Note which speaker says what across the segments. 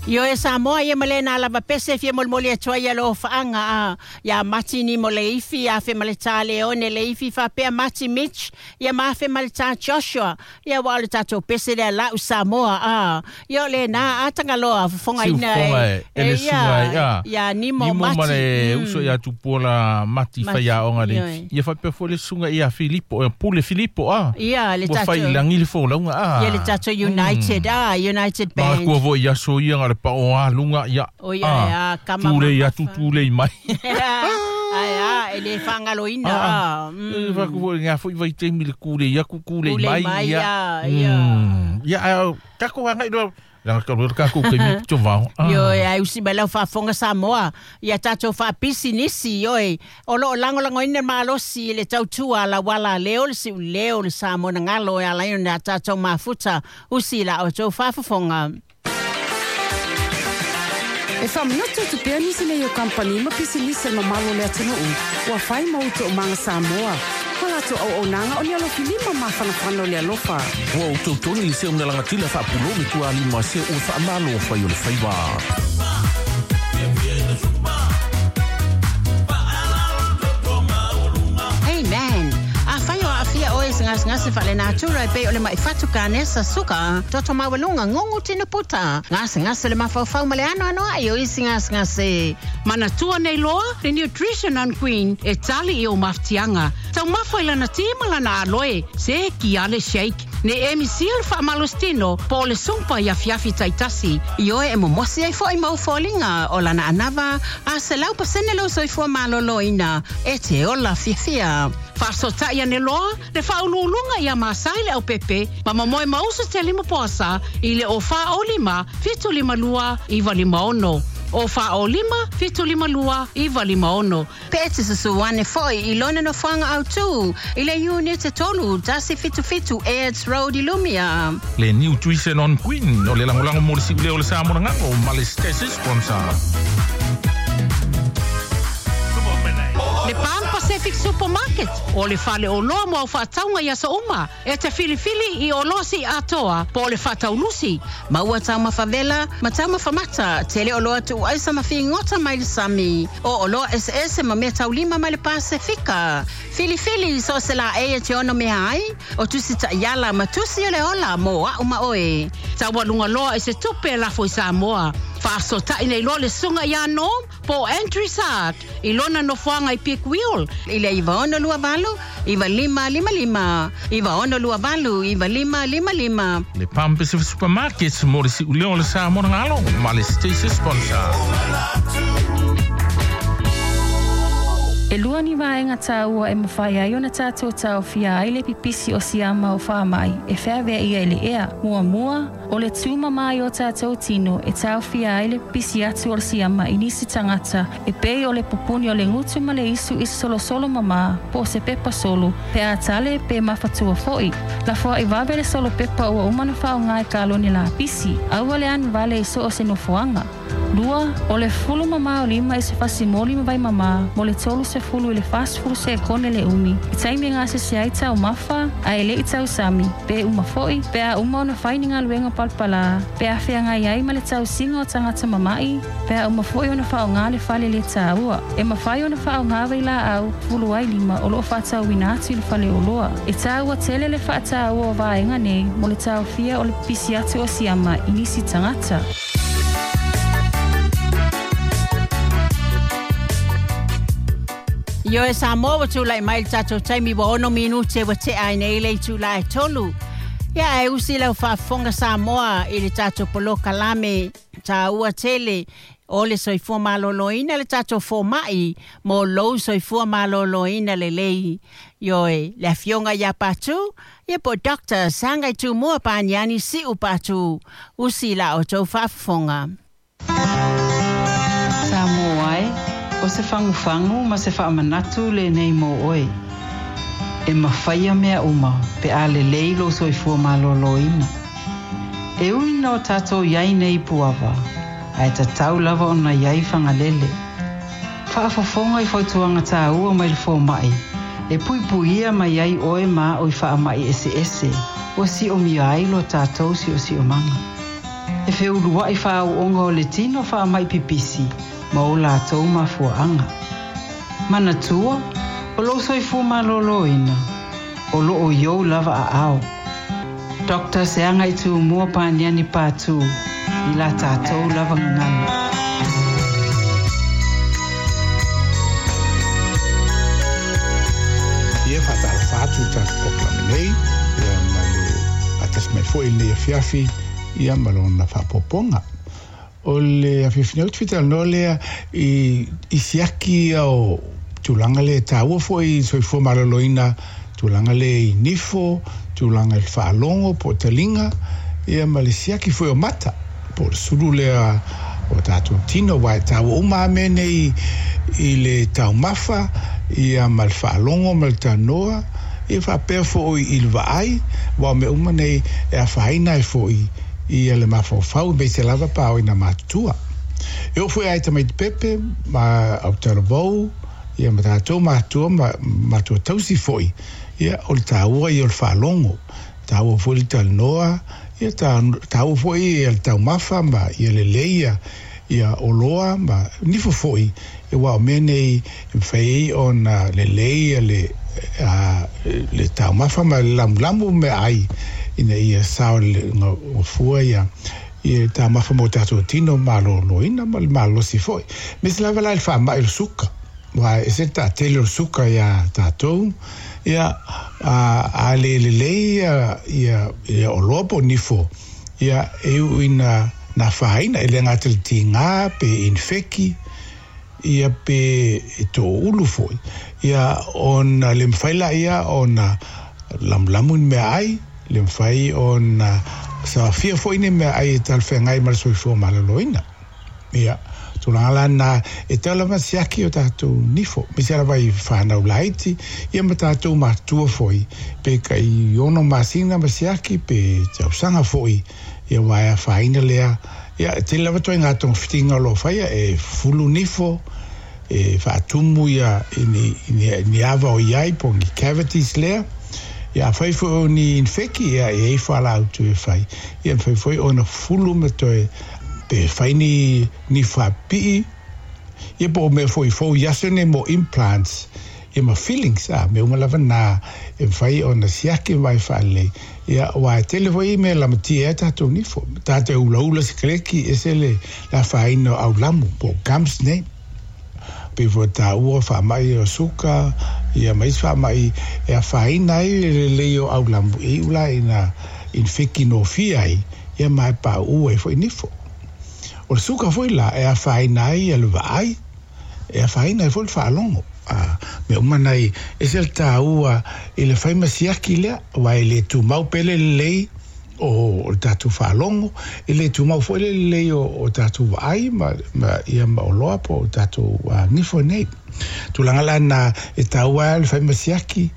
Speaker 1: Ioe Samoa ia ma lena lava pese fia molimoli atu ai alofaaga a ia Mati Nimo Leifi, afe ma le tā Leone Leifi faapea Mati Mitch, ia ma afe ma le tā Joshua. Ia ua o le tatou pese lea la'u Samoa a. Ia o lena a Tagaloa fofogaina
Speaker 2: e e le susuga ia
Speaker 1: ia Nimo
Speaker 2: Nimo ma le uso ia Tupuola Mati faiaoga le ia faapea foi le susuga ia Filipo ia Pule Filipo a.
Speaker 1: Ia le
Speaker 2: tatou ua fai i lagi le folauga a.
Speaker 1: Ia le tatou United a United Band.
Speaker 2: Manatua foi i aso ia na o le pao a luga ia.
Speaker 1: O ia a
Speaker 2: kama tulei atu tulei mai.
Speaker 1: Ae a e le faagaloina a.
Speaker 2: E faapea foi i lena foi vaitaimi le tulei atu tulei mai
Speaker 1: ia. Ia.
Speaker 2: Ia ae tatou agai loa leaga talu ai le tatou taimi pito vao.
Speaker 1: Ioe, ae usi mai lau faafofoga Samoa ia tatou faapisinisi, ioe, o lo o lagolagoina le malosi i le tautua a lauala a leo le siuleo le Samoa na galo e ala ai ona tatou mafuta usi i la outou faafofoga.
Speaker 3: E faamanatu atu pea nisi nei o kamupani ma pisinisi a le mamalu o le atunuu ua fai ma ou toomaga Samoa ma latou auaunaga o ni alofi lima mafanafana o le alofa.
Speaker 4: Ua ou tautogi le seu nalagatila faapulou le tualima se ua faamalo fai o le faiva.
Speaker 1: Hey man, afai o aafia oe i se gasegase faalenatura e pei o le ma'i fatu kanesa, suka, toto maualuga, gugu tino puta, gasegase o le mafaufau ma le anoanoai o isi gasegase.
Speaker 3: Manatua nei loa le Nutrition on Queen e tali i ou mafatiaga. Taumafa i lana ti ma lana aloe, se ki ale shake. Ne emi sia le faamalositino po o le sumpa i afiafi taitasi.
Speaker 1: Ioe e momosi ai foi ma ou foliga o lana anava a 100% lou soifua maloloina e te ola fiafia.
Speaker 3: Faasootai ane loa le Faauluuluga ia Masai Leaupepe ma momoe ma usu te lima poasa i le 0 4 0 5 7 5 2 9 5 6. 0 4 0 5 7 5 2 9 5 6.
Speaker 1: Pe e te susu ane foi i lona nofoaga autū i le Iunite 3 177 Airds Road i Lumia.
Speaker 2: Le Nutrition on Queen o le lagolago mo le siuleo o le Samoa Galo ma le Station Sponsor.
Speaker 3: Le Pan Pacific Supermarket o le faleoloa mo au faatauga i aso uma e te filifili i oloa siiatoa po o le faataulusi.
Speaker 1: Maua taumafa vela ma taumafa mata, tele oloa tuuaisa ma figota mai le sami. O oloa eseese ma mea taulima mai le Pasefika. Filifili so o se laei e te ono mea ai, o tusi taiala ma tusi o le ola mo a'u ma oe.
Speaker 3: Taualuga loa i se tupe e lafo i Samoa. Faasootai nei loa le susuga ia Norm po o Andrew Sart i lona nofoaga i Peak Wheel.
Speaker 1: I le 9628 9555, 9628 9555.
Speaker 2: Le Palm Pacific Supermarkets mo le siuleo o le Samoa Galo ma le Station Sponsor.
Speaker 5: E lua ni vaega taua e mafai ai ona tatou taofia ai le pipisi o siama o faamai e feaveaia i le ea. Muamua, o le tumama i o tatou tino e taofia ai le pipisi atu o le siama i nisi tagata e pei o le pupuni o le gutu ma le isu i se solosolo mamā po o se pepa solo pe a tale pe mafatua foi. Lafoai vave le solo pepa ua uma ona faaaoga i kalone lapisi. Aua le anu vale i so o se nofoaga. Lua, o le fulu mamā o lima i se fasimoli ma vai mamā mo le 30 i le 40 sekone le umi i taimi e gasese ai taumafa ae le i tausami, pe uma foi, pe a uma ona fai ni galuega palapalā, pe a feagai ai ma le tausiga o tagata mama'i, pe a uma foi ona faaaoga le fale le taua. E mafai ona faaaoga vailaau fulu ai lima o loo faatauina atu i le faleoloa. E taua tele le faataua o vaega nei mo le taofia o le pipisi atu o siama i nisi tagata.
Speaker 1: Ioe Samoa ua tulai mai le tatou taimi ua 6 minute ua tea ai nei le itula e 3. Ia ae usi lau faafofoga Samoa i le tatou polokalame taua tele o le soifua maloloina le tatou fomai mo lou soifua maloloina lelei. Ioe, le afioga ia Patu, ia po Dr. Sagai Tumua Paniani Siu Patu, usi la outou faafofoga.
Speaker 6: Samoa e, o se fagufagu ma se faamanatu lenei mo oe. E mafai mea uma pe a lelei lou soifua malōlōina. E ui ina o tatou i ai nei i Puava, ae tatau lava ona i ai Fagalele. Faafofoga i fautuaga tāua mai le fomai, e puipuia mai ai oe ma a'u i faamai eseese ua siomia ai lo tatou siosiomaga. E feulua'i fa'ao'oga o le tino fa'ama'i pipisi ma o latou mafua'aga. Manatua, o lou soifua malōlōina, o lo'o i ou lava a'ao. Dr. Seaga i Tumua Paniani Patu i la tatou lava gagana.
Speaker 7: Ia faatalofa atu i tatou polokalame nei, ia ma le faatasi mai foi i lenei afiafi, ia ma lona faaopoopoga. O le afiafi nei ou te fia talanoa lea i i siaki ia o tulaga lea e taua foi i le soifua maloloina, tulaga lea i nifo, tulaga i le faalogo po o taliga, ia ma le siaki foi o mata, po o le sulu lea o tatou tino, aua e taua uma lava mea nei i le taumafa, ia ma le faalogo ma le tanoa, ia faapea foi i le vaai, aua o mea uma nei e afaina ai foi ia le mafaufau aemaise lava pa o ina matutua. E oo foi ia i tamaiti pepe ma autalavou ia ma tatou matua ma matua tausi foi, ia o le taua ia o le faalogo, taua foi le talanoa, ia taua foi ia le taumafa ma ia lelei ia ia oloa ma nifo foi, aua o mea nei e mafai ai ona lelei ia le le taumafa ma le lamulamu meaai ina ia saogalefua ia ia taumafa mo tatou tino malōlōina ma le malosi foi. Aemaise lava la i le faamai o le suka, aua e ese le taatele o le suka iā tatou, ia a le lelei ia ia oloa po o nifo, ia e iu ina afaina, e le gata i le tigā pe inifeki, ia pe e toulu foi, ia ona le mafai laia ona lamulamu ni meaai, le mafai ona saofia foi ni meaai e talafeagai ma le soifua maloloina. Ia, tulaga la na e tau lava siaki o tatou nifo, aemaise lava i whanau laiti, ia ma tatou matua foi, pe kai 6 masina ma siaki, pe tausaga foi, ia aua e afaina lea. Ia, e tele lava ituaiga togafitiga o lo o faia, e fulu nifo, e faatumu ia i ni, ni, ni ava o i ai, po o ni cavities lea. Ia, afai foi o ni infeki, ia, e i ai fualaau e fai. Ia, e mafai foi ona fulu ma toe, pe fai ni, ni faapipii, ia po o mea foi fou i aso nei mo implants, ia ma fillings, a, mea uma lava na e mafai ona siaki ma vaai faalelei. Ia, aua e tele foi mea e lamatia ai tatou nifo. Tatou ulaula sikareti, ese le afaina o aulamu, po o gums nei. Pei foi ona taua faamai o suka, ia ma isi faamai e afaina ai le lelei o aulamu, e iu la ina infeki nofia ai, ia ma e pauu ai foi nifo. O le suka foi la e afaina ai le vaai, e afaina ai foi le faalogo. A mea uma nei, ese le taua i le fai ma siaki lea, aua e le tumau pea le lelei o le tatou faalogo, e le tumau foi le lelei o tatou vaai ma, ma, ia ma oloa po o tatou nifo nei. Tulaga la na e taua ai le fai ma siaki,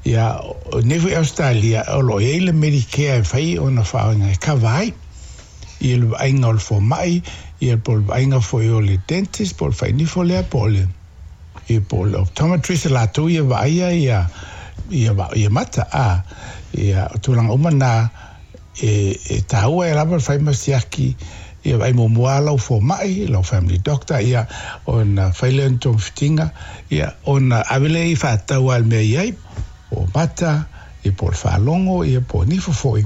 Speaker 7: ia, nei foi Ausetalia, o lo o i ai le Medicare e fai ona faaaoga e kava ai ia le vaaiga o le fomai, ia po o le vaaiga foi o le dentist, po o le fainifo lea, po o le, ia po o le optometrist, latou ia vaaia ia, ia, ia mata, a, ia, o tulaga uma na, e, e taua ai lava le fai ma siaki, ia vaai muamua lava lau fomai, lau family doctor, ia, ona fai lea o ni togafitiga, ia, ona ave lea i faatatau lava i le mea e i ai, po o mata, ia po o le faalogo, ia po o nifo foi,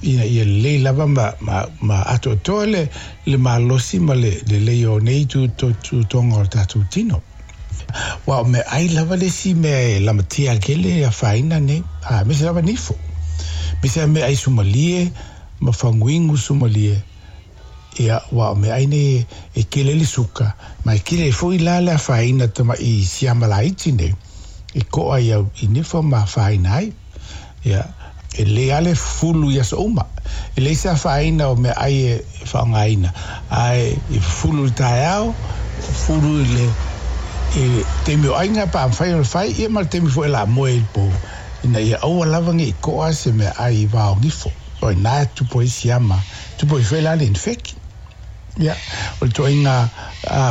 Speaker 7: ina ia lelei lava ma, ma, ma atoatoa le, le malosi ma le lelei o nei tutoga o le tatou tino. Aua o meaai lava le isi mea e lamatia tele e afaina nei, a, aemaise lava nifo. Aemaise lava meaai sumalie ma faguinu sumalie, ia, aua o meaai nei e tele ai le suka, ma e tele ai foi la le afaina tamai siama laiti nei, e to'a i au i nifo ma afaina ai. Ia, e lelei lava le fufulu i aso uma. E leai se afaina o meaai e faaaogaina, ae e fufulu i le taeao, fufulu i le i le taimi o aiga pe a mafai ona fai, ia ma le taimi foi o le a moe ai i le po, ina ia aua lava ne i to'a se meaai i va o nifo. O i ina e tupu ai siama, tupu ai foi la le infeki. Ia, o le ituaiga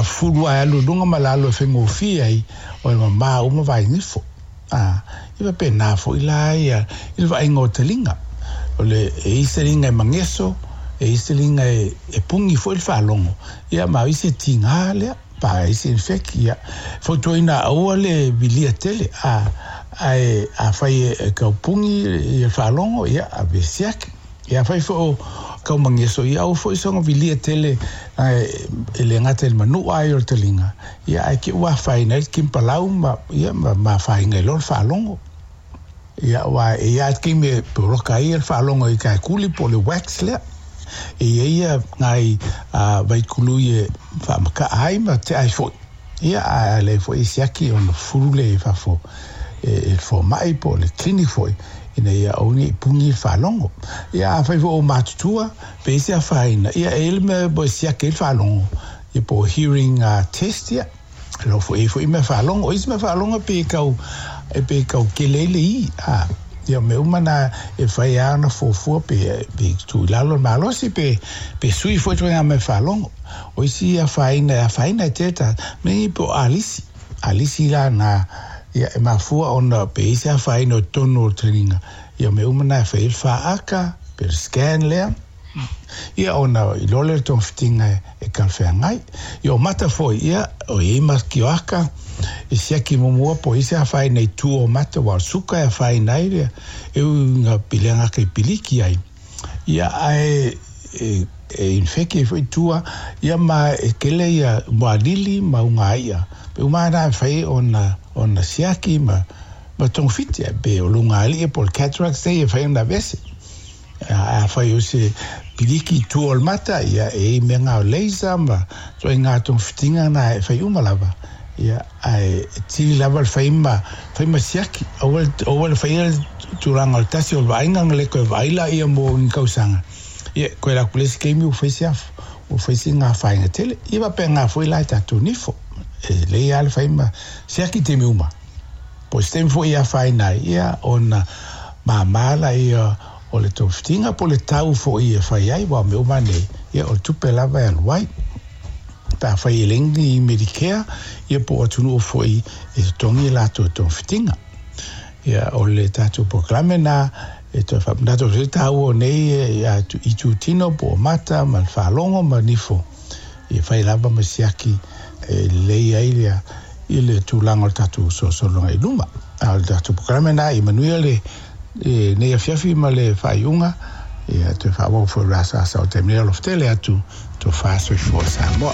Speaker 7: fufulu lava e alu i luga ma lalo e faigofie ai, o e mamā uma vainifo. A, ia faapena foi la ia i le vaaiga o taliga. O le, e i ai se taliga e mageso, e i se liga e pugi foʻi le faalogo ia ma o isi e tigā lea pa ai se infect ia fautuaina aua le vilia tele a ae afai e kaupugi ia faalogo ia ave siaki. Ia afai foi o kaumageso ia aua foi soga vilia tele e le gata i le manu'a ai o le taliga ia ae ke ua afaina ai le kimpalau ma ia ma afaina ai loa le faalogo. Ia aua e i ai lava le taimi e poloka ai le faalogo i taekuli po o le wax lea. E i ai ia nai vaikului e faamata'a ai ma tea ai fo'i. Ia ae a leai foi e siaki ona fulu lea i fafo e le fomai po o le clinic foi ina ia aua ne i puni le faalogo. Ia afai foi o matutua pe i ai se afaina, ia e i ai le mea e siaki ai le faalogo, ia po o hearing test ia. Lo foi ai foi mea faalogo. O isi mea faalogo e pei e tau, e pei e tau kele ai le i, a. Ia o mea uma na e fai lava ona fuafua pe, pe tuu i lalo le malosi pe, pe sui foi ituaiga mea faalogo. O isi afaina e afaina e tele tagata, mea nei po o alisi. Alisi la na, ia e mafua ona pe i ai se afaina o totonu o le taliga, ia o mea uma na e fai ai le faata, pe le scan lea. Ia ona iloa lea o le togafitiga e talafeagai. Ia o mata foi, ia o i ai ma kioaka e siaki muamua po o i ai se afaina i tua o mata aua o le suka e afaina ai le e ui ina piliga ake i piliki ai. Ia ae e e infeki ai foi tua ia ma e tele ia mualili ma ugai'a. Pe uma lava na e fai ona ona siaki ma ma togafiti ae pe o luga alii po o le cataracts nei e fai ona aveese. Afai o se piliki i tua o le mata, ia e i ai mea nga o laser ma ituaiga togafitiga na e fai uma lava. Ia ae tili lava le fai ma fai ma siaki. Aua le aua le faia le tulaga o le tasi o le vaaiga na le toe vaai laia mo ni tausaga. Ia koe la ku le isi taimi ua fai se afu, ua fai sina afaina tele. Ia faapena foi la i tatou nifo. E lelei lava le fai ma siaki i taimi uma. Po o se taimi foi e afaina ai, ia ona māmā laia o le togafitiga po o le tau foi e fai ai, aua o mea uma nei, ia o le tupe lava e alu ai. Pe afai e leai ni Medicare, ia po o atunuu foi e totogi e latou togafitiga. Ia o le tatou polokalame lena e toe faamanatu atu ai le taua o nei itutino po o mata ma le faalogo ma nifo, ia fai lava ma siaki e lelei ai le i le tulaga o le tatou solosologa i luma. A o le tatou polokalame lena ia manuia le nei afiafi ma le faaiuga, ia toe faaauau foi o le asaasa o le taimi nei. Alofa tele atu, tofa soifua Samoa.